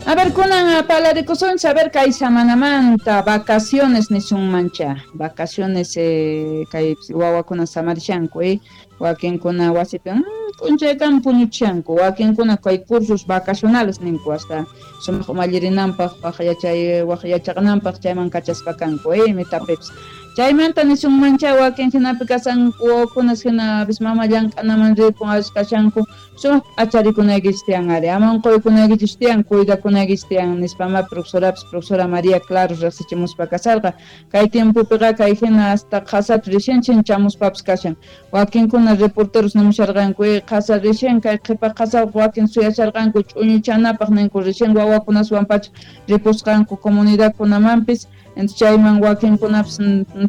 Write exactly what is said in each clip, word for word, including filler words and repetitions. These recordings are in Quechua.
A ver, kunan parlarikusunchis, a ver, kay samanamanta, vacaciones nisunmancha, vacaciones eh, kay wawakuna samarishanku, eh, wakinkuna wasipi mm, p'unchaykan puñuchanku, wakinkuna kay cursos vacacionales ninku hasta sumaq umallirinanpaq, waq yachay waq yachaqananpaq chayman kachaspa kanku, eh, mitapipis. Chaymanta nisunmancha wakin hinapi kasanku wawakunas hina mama llank'anaman ripun avis kashanku sumaq p'acharikunaykichis tiyan ari, ama unquykunaykichis tiyan, cuidakunaykichis tiyan nispama profesorapis profesora María Claros riqsichimuspa kasarqa. Kay tiempopiqa kay hina hasta qhasata recién chinchamuspapis kashan, wakinkuna reporteros nimusharqanku eh, qhasa recién kay qhipa qhasaqa wakin suyasharqanku ch'uñuchanapaq ninku recién wawakunaswan pacha ripusqanku comunidadkunamanpis, entonces chayman wakinkunapis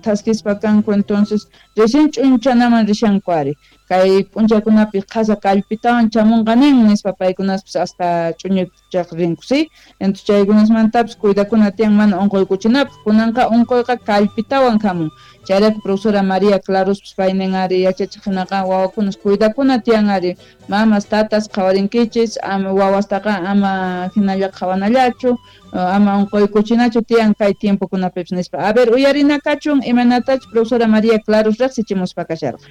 thaskispa kanku, entonces recién ch'unchanaman rishanku ari. Kay p'unchaykunapi qhasa kallpitawan chamunqa nin nispa paykunaspis hasta ch'uñuchaq rinku, sí? Entonces chaykunasmantapis cuidakuna tiyan mana unquykuchinapaq, kunanqa unquyqa kallpitawan hamun. Chayrayku profesora María Clarospis paynin ari yachachiq hinaqa wawakunas cuidakuna tiyan ari, mamas tatas qhawarinkichis, ama wawastaqa ama hinalla qhawanallachu, ama unquykuchinachu tiyan kay tiempokunapipis nispa. A ver, uyarina kachun imaynatachus profesora María Claros riqsichimuspa kasharqa.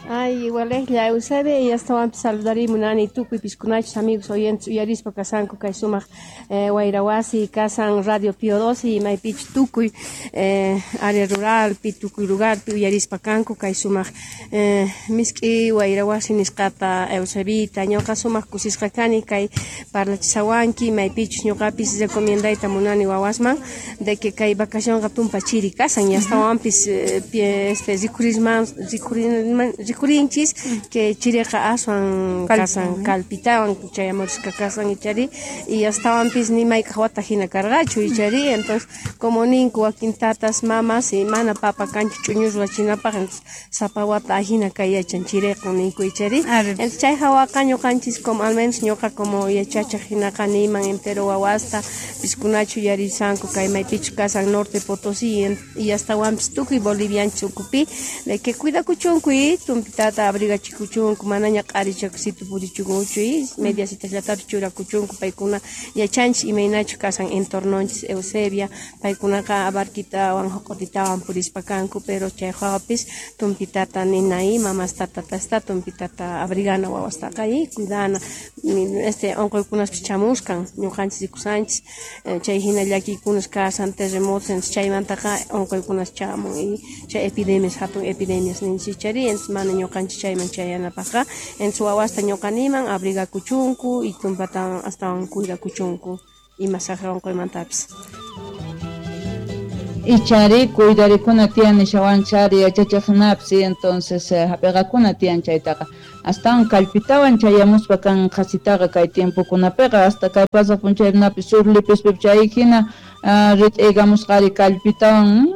Ay, igualejlla Eusebia, y astawanpis saludarí munani tukuy piskunachis amigos oyentes uyarispa kasanku kay sumaq eh, wayrawasi kasan Radio Pío doce y maypich tukuy eh, área rural pi tukuy lugar pi uyarispa kanku kay sumaq eh, misk'i wayrawasi nisqata Eusebita ñuqa sumaq kusisqa kani kay parlachisawanki maypichus ñuqapis recomiendayta munani wawasman de que kay vacacionqa tumpa chiri kasan y astawanpis eh, este rikurisman rikurinman rikurinchis que chiriqa aswan kasan kalpitawan chayamurisqa kasan ichari y astawanpis ni mayk'aq wata hina karqachu ichari, entonces como ninku wakin tatas mamas y mana papa kanchu ch'uñu ruwachinapaq, entonces sapa wata ahina kay yachan chiriqa ninku ichari, entonces chay hawaqa ñuqanchis como al menos ñuqa como yachachaq hinaqa niman entero wawasta piskunachu yarisanku kay maypichu kasan Norte Potosí y astawanpis tukuy bolivianchis ukupi de que cuidakuchunku y tumpitata abrigachikuchunku manaña q'arichakusitu purichunkuchu y mediasitasllatapi churakuchunku paykuna yachanchis imaynachu kasan entornonchis Eusebia paykunaqa abarquitawan joq'otitawan purispa kanku pero chay hawapis tumpitata ninay mamasta tatasta tumpitata abrigana wawastaqa y cuidana este unquykunaspis chamuskan ñuqanchis rikusanchis chay hina llakiykunas kasan terremotos chaymantaqa unquykunas chamun y chay epidemias hatun epidemias ninchis chari, entonces mana ñuqanchis chayman chayanapaqqa, entonces wawasta ñuqa niman abrigakuchunku y tumpatawan astawan cuidakuchunku ima saqra unquymantapis. Ichari cuidarikuna tiyan nishawanchari yachachiq hinapis, entonces hap'iqakuna tiyan chaytaqa astawan kallpitawan chayamuspa kan qhasitaqa kay tiempokunapiqa hasta kay pasaq p'unchaykunapi sur lipispi chay hina rit'iykamusqari kallpitawan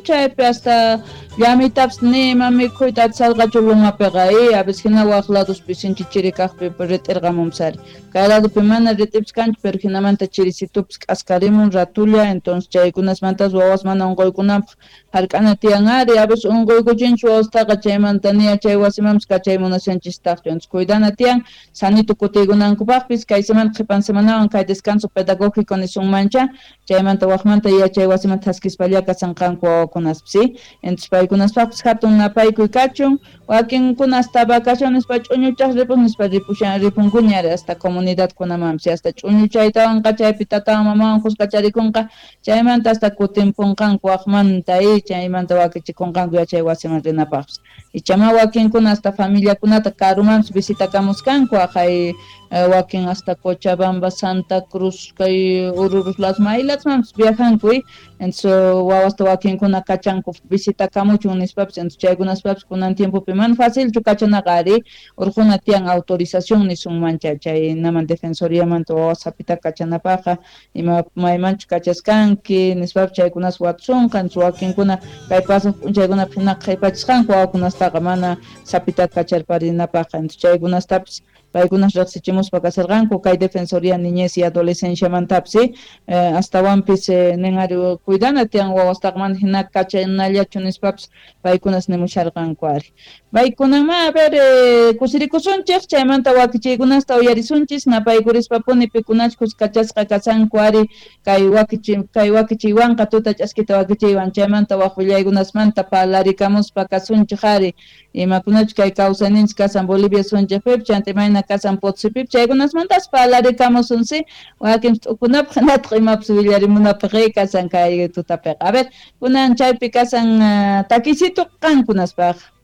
chaypi hasta llamitapis nima mikhuyta atisarqachu lumapiqa, eh, a veces hina waq ladospi sinchi chiri kaqpi rit'irqamunpis ari, kay ladopi mana rit'ipis kanchu pero hinamanta chirisitupis k'askarimun ratulla, entonces chaykunasmantas wawas mana unquykunanpaq hark'ana tiyan ari, a veces unquykuchinchis wawastaqa chaymanta niya chay wasimanpis kachay munashanchistaqchu, entonces cuidana tiyan sanito kutiykunankupaqpis kay semana qhipan semanawan kay descanso pedagógico nisunmancha chaymanta waqmanta yachay wasiman thaskispalla kasanqanku wawakunaspis, ¿sí? Entonces paykunaspaqpis hatun napaykuy kachun, wakinkuna hasta vacaciones pa ch'uñuchaq ripun nispa ripushan ripunkuña ari hasta comunidadkunamanpis hasta ch'uñuchaytawanqa chaypi tatawan mamawan kuskacharikunqa chaymanta hasta kutinpunqanku waqmanta y chaymanta wakichikunqanku yachay wasiman rinapaqpis, ichama wakinkuna hasta familiakunata karumanpis visitakamuskanku aqhay wakin hasta Cochabamba, Santa Cruz, kay Ururus las maylatsmanpis viajanku, entonces wawasta wakinkuna kachanku visitakamuchun nispapis, entonces chaykunaspapis kunan tiempopi mana facilchu kachanaqa ari urquna tiyan autorización nisunmancha chaynaman defensoriamanta wawas hapita kachanapaqqa ima maymanchu kachaskanki nispapis chaykunas watusunqa, entonces wakinkuna kay pasaq p'unchaykunapi hinaqa qhipachisqanku wawakunastaqa mana sapita kacharparinapaqqa, entonces chaykunastapis Paykunas riqsichimuspa kasharqanku kay Defensoría Niñez y Adolescenciamantapis, ¿sí? Eh, astawanpis eh, nin ari cuidana tiyan wawastaqa mana hina kachanallachu nispapis paykunas nimusharqanku ari. Paykunanma a ver eh, kusirikusunchik chaymanta wakichiykunasta uyarisunchis napaykurishpapuni pikunachus kachasqa kasanku ari kay wakichi kay wakichiywanqa tuta ch'askita wakichiywan chaymanta waq willaykunasmanta parlarikamuspa kasunchik ari imakunachus kay kawsayninchik kasan Bolivia sunchikpipi chanta imayna kasan Potosipipis chaykunasmantas parlarikamusun, sí, wakin t'ukunapaq hinataq imapis willarimunapaq kasan kay tutapiqa. A ver, kunan chaypi kasan uh, takisito qankunaspaq.